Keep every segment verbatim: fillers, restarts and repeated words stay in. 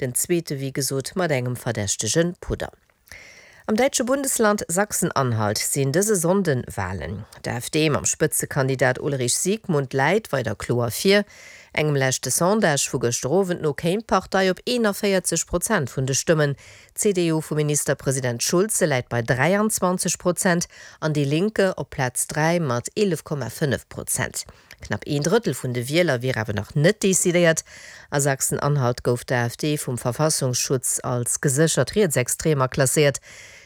Den zweete wéi gesot mat engem verdächtege Pudder. Am däitsche Bundesland Sachsen-Anhalt sinn dëse Sonnden Walen. D'AfD mam Spëtzekandidat Ulrich Siegmund läit weider kloer vir. Engem leschte Sondage vu gëschter Owend no kéim d'Partei op eenanvéierzeg Prozent vun de Stëmmen. D'CDU vum Ministerpresident Schulze läit bei dräianzwanzeg Prozent an Die Linke op Plaz dräi mat eelef Komma fënnef Prozent. Knapp een Drëttel vun de Wieler wier awer nach net decidéiert. A Sachsen-Anhalt gouf d'AfD vum Verfassungsschutz als geséchert rietsextrem klasséiert.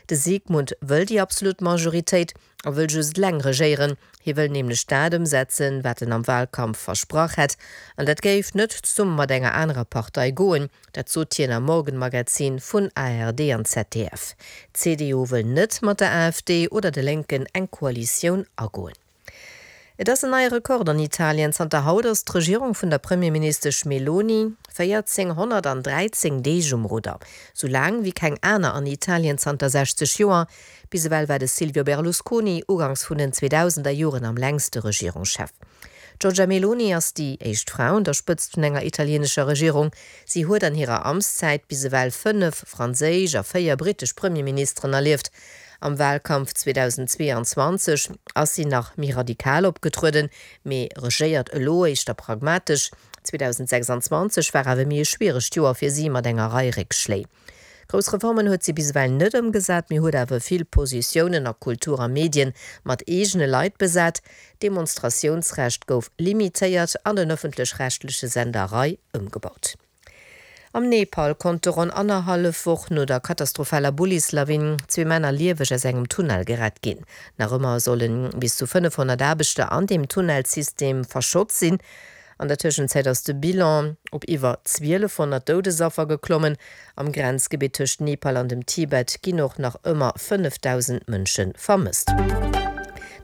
De Siegmund wëll déi absolut Majoritéit a wëll just eleng regéieren. Hie wëll nämlech dat ëmsetzen, wat en am Walkampf versprach hätt. An dat géif net zesumme mat enger anerer Partei goen. Dat sot hien am Morgenmagazin vun ARD an Z D F. D'C D U wëll net mat der A F D oder de Lénken eng Koalitioun agoen. Et ass en neie Rekord an Italien, Zanter haut ass d'Regierung vun der Premierministesch Meloni véierzénghonnertdräizéng Deeg um Rudder. Sou laang wéi keng aner an Italien zanter sechzeg Joer. Bis ewell war de Silvio Berlusconi ugangs vun den zweedausender Joren am längste Regierungschef. D'Giorgia Meloni ass déi éischt Fra un der Spëtzt vun enger italieenescher Regierung. Si huet an hirer Amtszäit bis ewell fënnef franséisch a véier brittesch Premierministeren erlieft. Am Walkampf zweedausendzweeanzwanzeg ass si nach méi radikal opgetrueden, mee regéiert elo éischter pragmatesch. zweedausendsechsanzwanzeg war awer méi e schwieregt Joer fir si mat enger Rei Réckschléi. Grouss Reformen huet si bis ewell net ëmgesat, mee huet awer vill Positiounen a Kultur a Medien mat eegene Leit besat. D'Demonstratiounsrecht gouf limitéiert an den ëffentlech-rechtleche Sender Rai ëmgebaut. Am Nepal konnte ronn annerhallef Woch no der katastrophaler Bullislawin zwee Männer lieweg aus engem Tunnel gerett ginn. Nach ëmmer solle bis zu fënnefhonnert Aarbechter an deem Tunnelsystem verschott sinn. An der Tëschenzäit ass de Bilan op iwwer zwielefhonnert Doudesaffer geklommen. Am Grenzgebitt tëscht Nepal an dem Tibet ginn och nach ëmmer fënnefdausend Mënsche vermësst.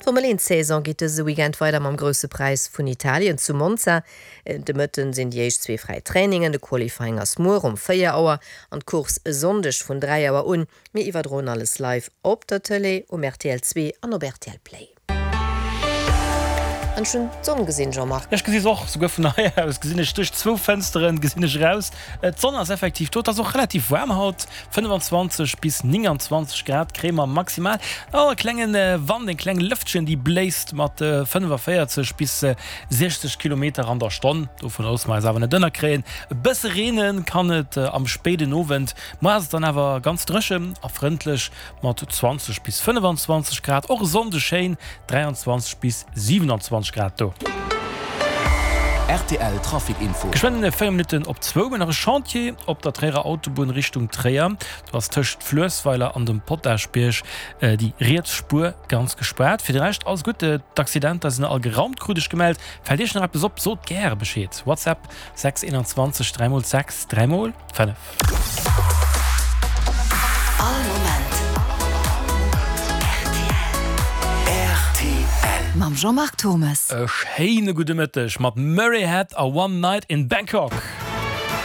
D'Formel eent Saison geet dëse Weekend weider mam Grousse Präis vun Italien zu Monza. De Mëtten sinn déi éischt zwee fräi Trainingen, de Qualifying ass muer um véier Auer an d'Course e Sonndeg vun dräi Auer un. Mir iwwerdroen alles live op der Tëlee, um R T L zwee an op R T L Play. An ech hunn d'Sonn gesinn, Jean-Marc. Ech gesi se och, souguer vun hei aus gesinn ech duerch zwou Fënsteren gesinn ech eraus. D'Sonn ass effektiv do, et ass och relativ waarm haut, fënnefenzwanzeg bis nénganzwanzeg Grad kréie mer maximal. Oh, e klenge Wand, eng kleng Lëftchen, déi bléist mat fënnefavéierzeg bis siechzeg Kilometer an der Stonn. Dovun loosse mer eis awer net ënnerkréien. E bësse reene kann et am spéiden Owend. Muer ass et dann awer ganz dréchen a frëndlech mat zwanzeg bis fënnefenzwanzeg Grad. Och e Sonndeg schéin, dräianzwanzeg bis siewenanzwanzeg Grad do. R T L Trafic Info. Geschwënn véier Minutten op zwou hunn nach e Chantier op der Tréierer Autobunn Richtung Tréier. Do ass tëscht Fluessweiler an dem Potaschbierg déi riets Spuer ganz gespaart. Fir de Rescht alles gutt, d'Accidenter sinn all geraumt, krut ech gemellt. Fält Iech nach eppes op, sot gäre Bescheed. WhatsApp sechs einundzwanzeg dräi mol sechs dräi mol fënnef. All Moment R T L. Mam Jean-Marc Thommes. E schéine gudde Mëtteg mat Murray Head a One Night in Bangkok.